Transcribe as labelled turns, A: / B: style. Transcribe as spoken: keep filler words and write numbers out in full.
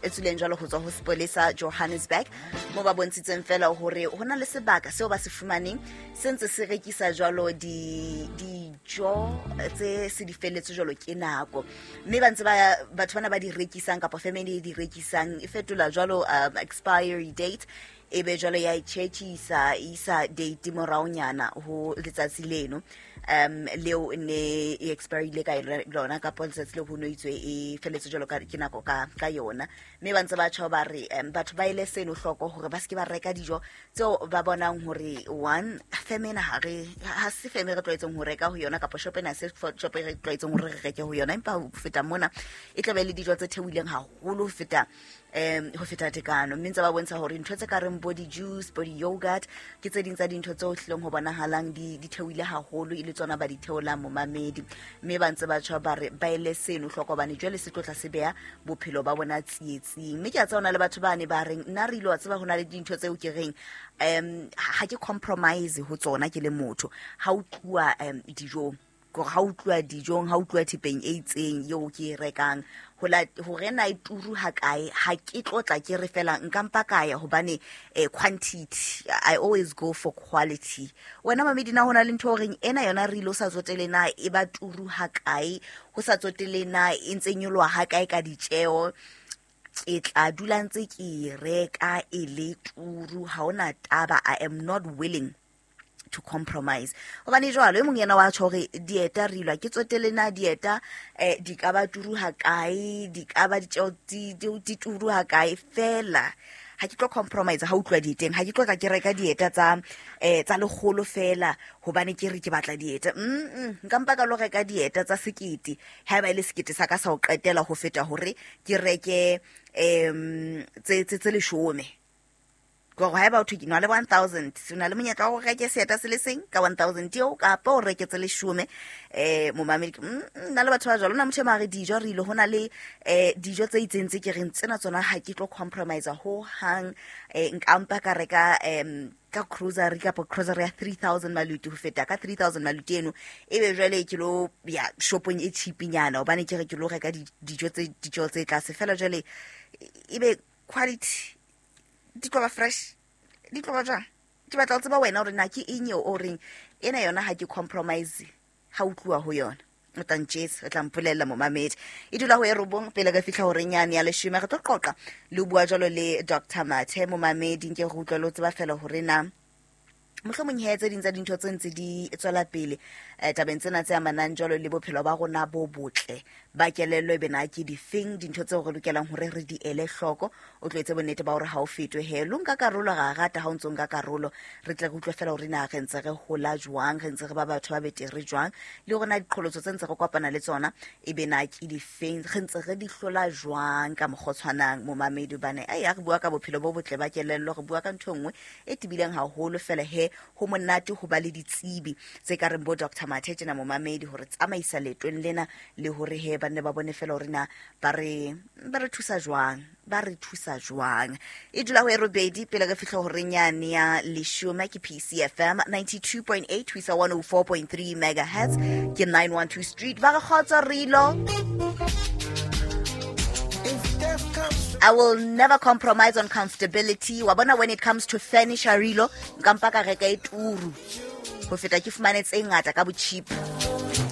A: e tswileng jwalo ho tswa ho sepolesa Johannesburg, mo ba bontshitseng fela hore ho na le sebaka seo ba se fumaneng se ntse se rekisa jwalo di dijo tse se di felletse jwalo ke nako, mme ba ntse ba batho bana ba di rekisang kapa family e di rekisang e fetola jwalo um, expiry date e be jwalo ya itšhetšisa e isa date moraonyana ho letsatsi leno um leo ne e expirile ka lona kapa letsatsi leo ho no itswe e felletse jwalo ka ke nako ka ka yona. Mme ba ntse ba tjho ba re um batho ba ele seno hloko hore ba se ke ba reka dijo tseo ba bonang hore one feme ena ha re ha se feme re tlwaetseng ho reka ho yona kapa shop ena se shop e re tlwaetseng hore re reke ho yona, empa ho feta mona e tla be le dijo tse theohileng haholo ho feta um ho feta tekano. Mme ntse ba bontsha hore ntho tse ka reng bo di-juice, bo di-yogurt ke tse ding tsa dintho tseo hlileng ho bonahalang di di theohile haholo e le tsona ba di theolang momamedi. Mme ba ntse ba tjho ba re ba ele seno hloko hobane jwale se tlo tla se beha bophelo ba bona tsietsing. Mme ke a tseba ho na le batho ba ne ba reng nna re ile wa tseba ho na le dintho tseo ke reng um ha ke compromise ho tsona ke le motho ha o tluwa um dijong, kore ha o tluwa dijong, ha o tluwa thepeng e itseng eo ke e rekang ho la hore na e turu ha kae, ha ke tlo tla ke re fela nka mpa ka ya hobane eh, quantity, I always go for quality. Wena mamedi na hona le ntho o reng ena yona re ile o sa tsotele na e ba turu ha kae, ho sa tsotele na e ntse nyoloha ha kae ka ditjeo, ke tla dula ntse ke e reka e le turu, ha hona taba, I am not willing to compromise. Hobane jwalo e mong yena wa tjho hore dieta re ilwa ke tsotele na dieta eh, di ka ba turu ha kae, di ka ba ditjeo di di turu ha kae, fela ha ke tlo compromise ha utlwa dieteng, ha ke tlo tla ke reka dieta tsa eh tsa lekgolo fela hobane ke re ke batla dieta. Mm nka mpa ka lo reka dieta tsa sekete haeba e le sekete sa ka sa ho qetela ho feta hore ke reke em tse tse tse leshome. Gore haeba o thwe ke na le one thousand, o na le monyetla wa ho reke seeta se le seng ka one thousand eo kapa o reke tse leshome. Eh momamedi, nna le batho ba jwalo, na motho e mare dijo re ile ho na le eh dijo tse itseng tse ke reng tsena tsona ha ke tlo compromise ho hang, eh nka mpa ka reka em ka grocery kapa grocery ya three thousand maluti ho feta ka three thousand maluti eno ebe jwale ke lo ya shopong e cheap-nyana hobane ke re ke lo reka dijo tse dijo tse tlase fela jwale ebe quality di tlo ba fresh, di tlo ba jwang. Ke batla ho tseba wena hore na ke eng eo o reng ena yona ha ke compromise ha o tluwa ho yona. O tla ntjesa, o tla mpolella momamedi. E dula ho e robong pele re fihla horeng yane ya leshome, re tlo qoqa le ho bua jwalo le Doctor Mathe momamedi, nke re utlwe le ho tseba fela hore na mohlomong he tse ding tsa dintho tse ntse di tswela pele eh, tabeng tsena tse amanang jwalo le bophelo ba rona bo botle ba kelello, ebe na ke difeng dintho tseo re lokelang hore re di ele hloko. O tlo etse bonnete ba hore ha o fetwe he lo nka karolo, ra rata ha o ntso nka karolo, re tle re utlwe fela hore na re ntse re hola jwang, re ntse re ba batho ba betere jwang, le hore na diqholotso tse ntse re kopana le tsona ebe na ke difeng, re ntse re di hlola jwang ka mokgwa o tshwanang momamedi. Hobane ai ha re bua ka bophelo bo botle ba kelello, re bua ka ntho e nngwe e tebileng haholo fela he ho monate ho ba le ditsebi tse ka reng bo Doctor Mathe tjena momamedi hore tsamaisa leetong lena le hore he ba nne ba bone fela hore na ba re ba re thusa jwang, ba re thusa jwang. E dula ho e robedi pele re fihla horeng yane ya leshome. Ke P C F M ninety-two point eight ho isa one oh four point three megahertz, ke nine one two Street. Ba re kgotsa Rilo. I will never compromise on comfortability. Wa bona when it comes to furniture Rilo, nka mpa ka reka e turu ho feta ke fumane tse ngata ka bo cheap.